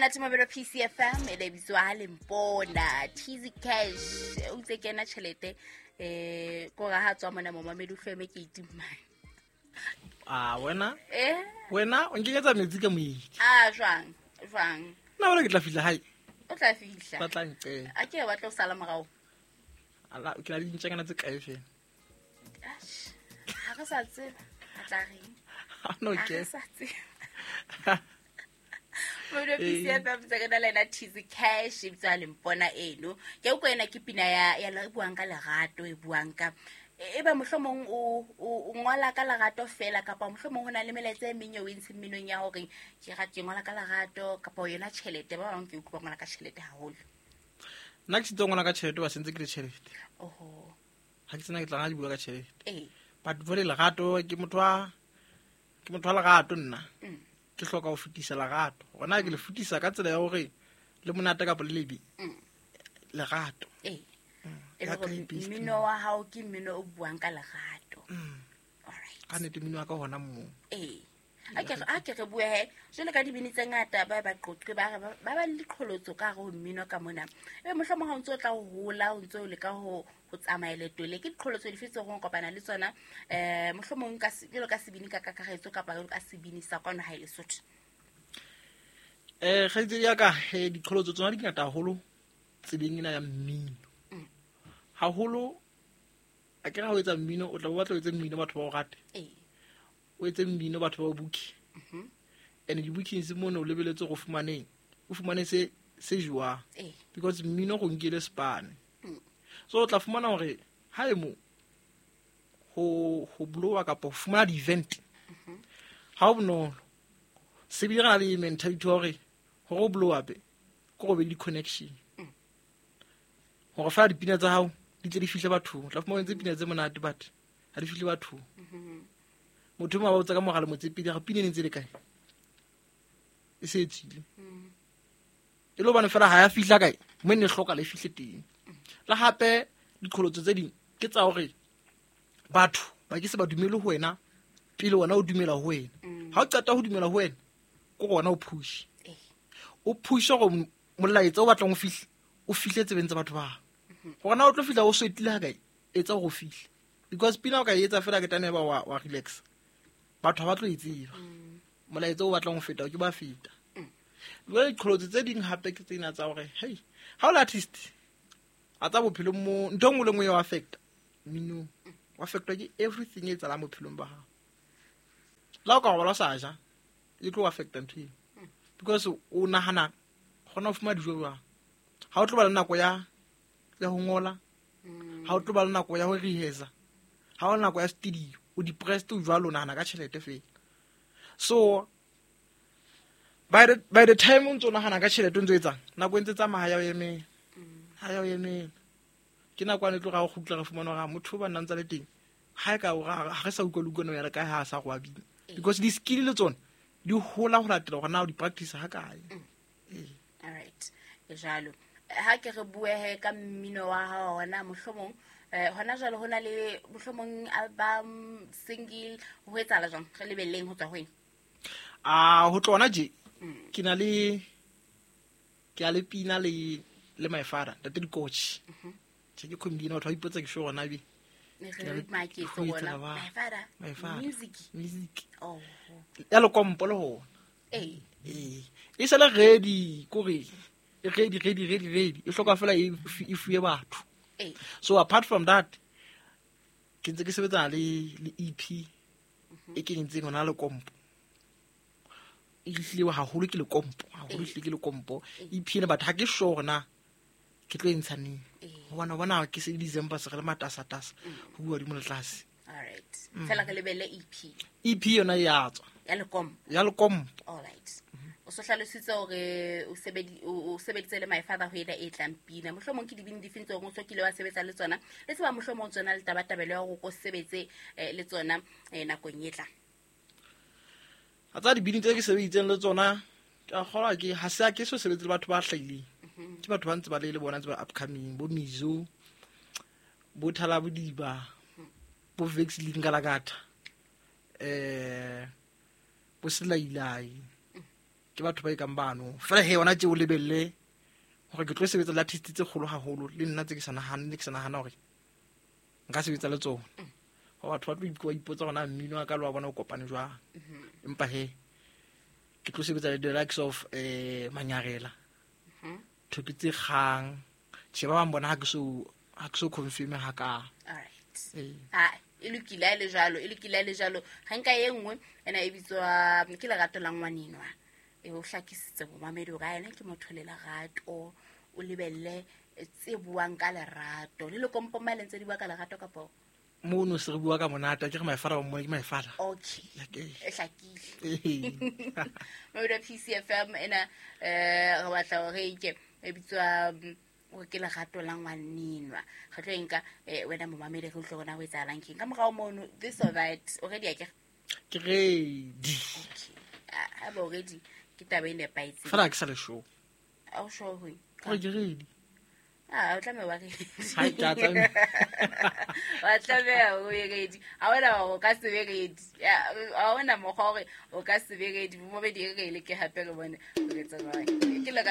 Monate mabelo PCFM e le bitswa ha lempona Tizzy Cash o itse kena tjhelete ko ra ha tswa mona momamedi o hlweme ke itimane. A wena? Wena o nkenyetsa metsi ka moedi. A jwang? Jwang? Nna wena ke tla fihla hae. O tla fihla. Ba tla nqela. A ke ba tlo sala morao. Ala ke la dintjangana tse kae fela. Ash. Ha re sa tseba. A tla reng? Ha no Ha ke. re sa tseba. Mabelo PCFM tse re na le ena Tizzy Cash e bitswa Lempona eno. Ke utlwa ena ke pina ya ya e buang ka lerato, e buang ka e ba mohlomong o ngola ka lerato fela kapa mohlomong ho na le melaetsa e meng eo e ntsheng mminong ya hore ke ke ngola ka lerato kapa yona tjhelete. Ba bang ke utlwa ba ngola ka tjhelete haholo. Nna ke sitse ngola ka tjhelete ba sentse ke le tjhelete. Oho. Ha ke tsena ke tla di bua ka tjhelete. Ee. But jwale lerato ke motho wa ke motho wa lerato nna. Ke hloka ho fetisa lerato. Hona ke le fetisa ka tsela ya hore le monate kapa le lebe. Lerato. Ee. E le Ya ka hore e best mmino wa hao ke mmino o buang ka lerato. All right. Ka nnete mmino wa ka hona moo. Ee. A ke re bue he, jwalo ka dibini tse ngata ba ba qoqe ba re ba le diqholotso ka hare ho mmino ka mona. Ebe mohlomong ha o ntso o tla ho hola, o ntso o leka ho tsamaya leeto le, ke diqholotso dife tseo o kopana le tsona? Mohlomong ka jwalo ka sebini ka kakaretso kapa jwalo ka sebini sa kwano hae Lesotho. Kgaitsedi ya ka, diqholotso tsona di ngata haholo tseleng ena ya mmino. Haholo, a ke re ha o etsa mmino, o tla bo batla o etse mmino batho ba o rate. Ee. O etse mmino batho ba o booke. And di-bookings mono o lebeletse hore o fumane se jewang. Ee. Because mmino go nkile spane. So o tla fumana hore ha e mo ho blowa kapa ho fumana di-event, ha ho bonolo. Se bile re na le mentality ya hore o blow up, ke hore o be le di-connection. Hore fela dipina tsa hao di tle di fihle bathong. O tla fumana o entse pina tse monate but ha di fihle bathong. Motho e mong a botsa ka mogala motsepedi, a re pina e ne ntse e le kae? E se e tswile. E le hobane fela ha ya fihla kae, mo e ne e hloka le fihle teng. Le hape diqholotso tse ding ke tsa hore batho ba ke se ba dumele ho wena pele wena o dumela ho wena. Ha o qeta ho dumela ho wena, ke hore wena o push. Ee. O push hore molaetsa o batlang o fihle, o fihle tsebeng tsa batho ba. Hore na o tlo fihla o sweatile ha kae, etsa hore o fihle. Because pina o ka e etsa fela ke tane ba wa relax. Batho ha ba tlo e tseba. Molaetsa o batlang ho feta, o ke ba feta. Jwale diqholotso tse ding hape ke tsena tsa hore, hey, ha o le artist, a tsa bophelong mo, ntho e nngwe le nngwe ya o affecta. Mmino o affectwa ke everything e etsahalang bophelong ba hao. Le ha o ka robala o sa ja, e tlo o affecta ntho eo. Because o nahana kgona ho fumana dijo jwang. Ha o tlo ba le nako ya ho ngola, ha o tlo ba le nako ya ho rehearsa, ha o nako ya studio, o depressed o jwalo, o nahana ka tjhelete fela. So by the time o ntso nahana ka tjhelete o ntso etsang, nako e ntse tsamaya ha ya o emela. Ha ya o emela. Ke nako ane e tlo ra o kgutla re fumana hore motho ba nna ntse le teng, ha e ka o ra, ha re sa utlwa le utlwa ya le kae ha a sa go abile. Because di-skill le tsona di hola ho latela hore na o di practice ha kae. Ee. All right. E jwalo. Ha ke re bue he ka mmino wa hao hona mohlomong, hona jwale ho na le mohlomong album, single, ho etsahala jwang? Re lebelleng ho tswa ho eng? A, ho tloha hona tje, ke na le, ke a le pina le my father, Ntate Dikotjhe. Tjhe, ke comedian, batho ba ipotsa ke sure hore na ebe Ne ke na re le maketse ho bona. etsa ba. My father, My father. Music. Music. Oh. Ya lekompo le hona. Ee. Ee. E sale ready, kore e ready, ready, ready, ready. E hloka fela e fuwe batho. Ee. So apart from that, ke ntse ke sebetsana le EP e ke entseng hona lekompo. E hlile haholo ke lekompo, haholo hlile ke lekompo. EP ena but ha ke sure hore na ke tlo e ntsha neng. Ee. Hobane o bona ke se December se re le matasatasa, ho bua hodimo le tlase. All right. Fela re lebelle EP. EP yona e ya tswa. Ya lekompo. Ya lekompo. All right. O so hlalositse hore o sebeditse le my father ho ena e tlang pina. Mohlomong ke dibini difeng tseo o so kile wa sebetsa le tsona? Le tseba mohlomong tsona le tabatabelo ya hore o ko sebetse le tsona nakong e tlang. A tsa dibini tse ke sebeditseng le tsona, ke a kgolwa ke ha se a ke so sebetse le batho ba hlahileng. Ke batho ba ntse ba le bona ntse ba upcoming, bo Mizo, bo Thalabodiba, bo Vex Lingalakatha, bo Selailai. Ke batho ba e kang bano fela he yona tse o lebelle gore ke tlo sebetsa le artist tse kgolo haholo le nna tse ke sa nahane ne ke sa nahana gore nka sebetsa le tsona. Go batho ba tlo ipotsa gona mmino wa ka le wa bona o kopane jwang. Empa he ke tlo sebetsa le the likes of Manyarela, Thoki tse kgang. Tjhe, ba bang bona ha ke so confirm ha ka. All right. Ah, e lokile ha e le jwalo, e lokile ha e le jwalo. Ga nka e nngwe ena e bitswa ke Lerato la Ngwanenwa. E o hlakisitse momamedi hore a ena ke motho le lerato, o lebelle tse buang ka lerato. Le lekompo le ntse di bua ka lerato kapa mono se re bua ka monate, ke re maefala ba mmone ke maefala. Okay. E hlakile. Mamedi wa PCFM ena re batla hore e ke e bitswa hore ke Lerato la Ngwanenwa. Re tlo e nka wena momamedi re utlwe hore na ho etsahalang keng. Ka morao mono this or that already a ke Ke ready. Okay. Ha ba already ke taba e nepahetseng. Fela ha ke sa le sure. Ha o sure ho eng? Hore ke ready. Ah, o tlameha wa ready. Ha ke a tlameha. Wa tlameha o be ready. Ha hona hore o ka se be ready. Ha hona mokgwa hore o ka se be ready. Momamedi e re e leke hape re bone o etsa jwang. Ke